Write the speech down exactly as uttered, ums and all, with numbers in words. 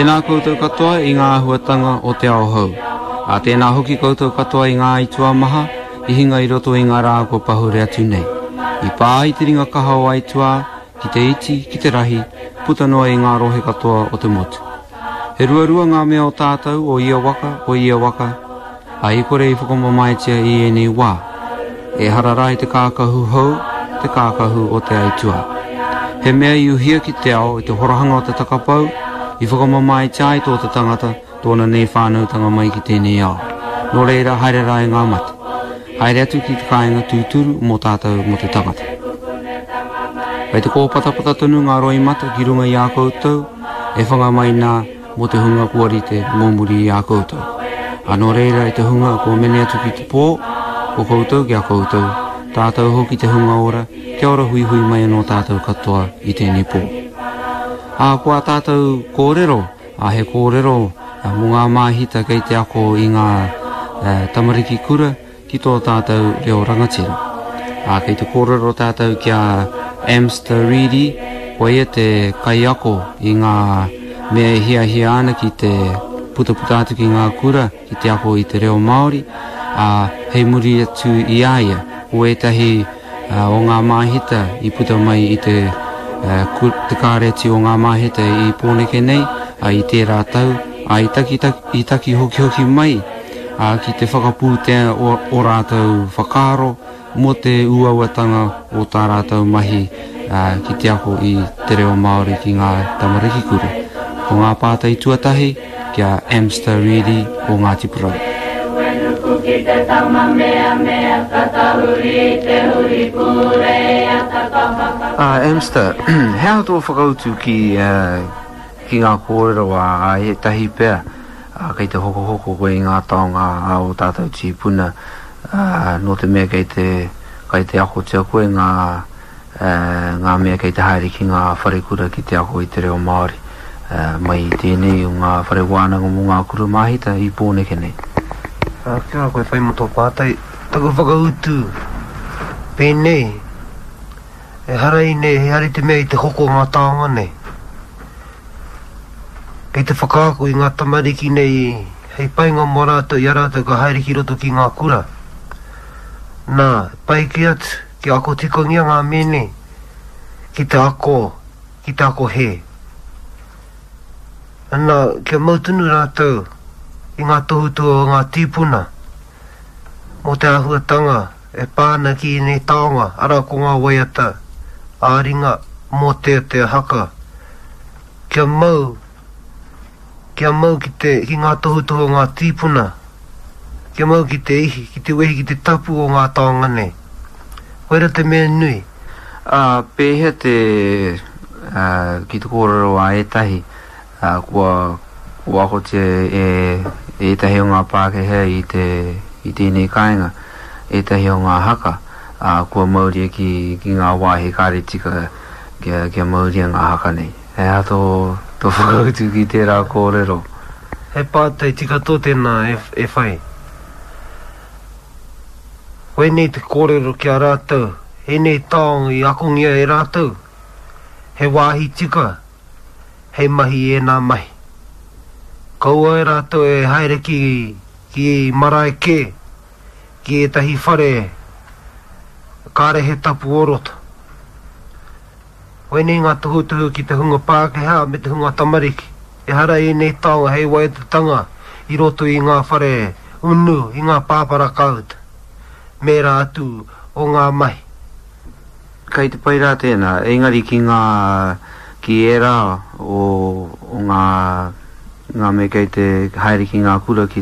Tēnā koutou katoa i ngā āhuatanga o te ao hou. Ā, tēnā hoki koutou katoa i ngā aituā maha i hinga i roto i ngā rā kua pahure atu nei. I pā ai te ringa kaha o aituā ki te iti, ki te rahi, puta noa i ngā rohe katoa o te motu. He ruarua ngā mea o tātou o ia waka, o ia waka, ā, i kore i whakamamaetia i ēnei wā. Ehara rā i te kākahu hou, te kākahu o te aituā. He mea i uhia ki te ao i te horahanga o te takapau, i whakamamaetia ai tō te tangata, tōna nei whānautanga mai ki tēnei ao. Nō reira, haere rā e ngā mate. Haere atu ki te kāinga tūturu mō tātou, mō te tangata. Kei te kōpatapata tonu ngā roimata ki runga i a koutou, e whanga mai nā mō te hunga kua rite mō muri i a koutou. Ā, nō reira e te hunga kua mene atu ki te pō, ko koutou ki a koutou, tātou hoki te hunga ora, kia ora huihui mai anō tātou katoa i tēnei pō. Ā, ko ā tātou kōrero, ā, he kōrero mō ngā māhita kei te ako i ngā tamariki kura ki tō tātou reo rangatira. Ā, kei te kōrero tātou ki a Amster Reedy, ko ia te kaiako i ngā mea e hiahia ana ki te putaputa atu ki ngā kura ki te ako i te reo Māori, ā, hei muri atu i a ia, ko ētahi o ngā māhita i puta mai i te, te kāreti o ngā māhita i Pōneke nei, ā, i tērā tau, ā, i taki, i taki hokihoki mai ā, ki te whakapūtea o, o rātou whakaaro mō te uauatanga o tā rātou mahi ā, ki te ako i te reo Māori ki ngā tamariki kura. Ko ngā pātai tuatahi ki a Amster Reedy o Ngāti Porou. Ā, Amster, he aha tō whakautu ki, ki ngā kōrero a ētahi pea, ā, kei te hokohoko koe i ngā taonga a ō tātou tīpuna, ā, nō te mea kei te, kei te akotia koe ngā, ā, ngā mea kei te haere ki ngā wharekura ki te ako i te reo Māori, ā, mai i tēnei o ngā whare wānanga mō ngā kura māhita i Pōneke nei. Ā, kia ora koe whai mō tō pātai. Taku whakautu, pēnei, ehara i nei, ehara i te mea i te hoko ngā taonga nei. Kei te whakaako i ngā tamariki nei hei painga mō rātou i a rātou ka haere ki roto ki ngā kura. Nā, pai kē atu kia ako tikangia ngā mea nei ki te ako, ki te ako hē. Nā, kia mau tonu rātou i ngā tohutohu a ngā tīpuna mō te āhuatanga e pā ana ki ēnei taonga, arā ko ngā waiata ā-ringa, mōteatea, haka. Kia mau, kia mau ki te, ki ngā tohutohu a ngā tīpuna, kia mau ki te ihi, ki te wehi, ki te tapu o ngā taonga nei. Koira te mea nui. Ā, pēhea te, ā, ki te kōrero a ētahi, ā, kua, kua akotia e, e ētahi o ngā Pākehā i te, i tēnei kāinga, ētahi o ngā haka, ā, kua mauria ki, ki ngā wāhi kāre tika kia, kia mauria ngā haka nei. He aha tō, tō whakautu ki tērā kōrero? He pātai tika tō tēnā e, e whai. Koinei te kōrero ki a rātou, ēnei taonga i akongia e rātou, he wāhi tika hei mahi i ēnā mahi. Kaua e rātou e haere ki, ki marae kē, ki ētahi whare kāre he tapu o roto. Koinei ngā tohutohu ki te hunga Pākehā me te hunga tamariki. Ehara ēnei taonga hei waiatatanga i roto i ngā whare unu, i ngā pāpara kāuta, me ērā atu o ngā mahi. Kei te pai rā tēnā, engari ki ngā, ki ērā o, o ngā, ngā mea kei te haere ki ngā kura ki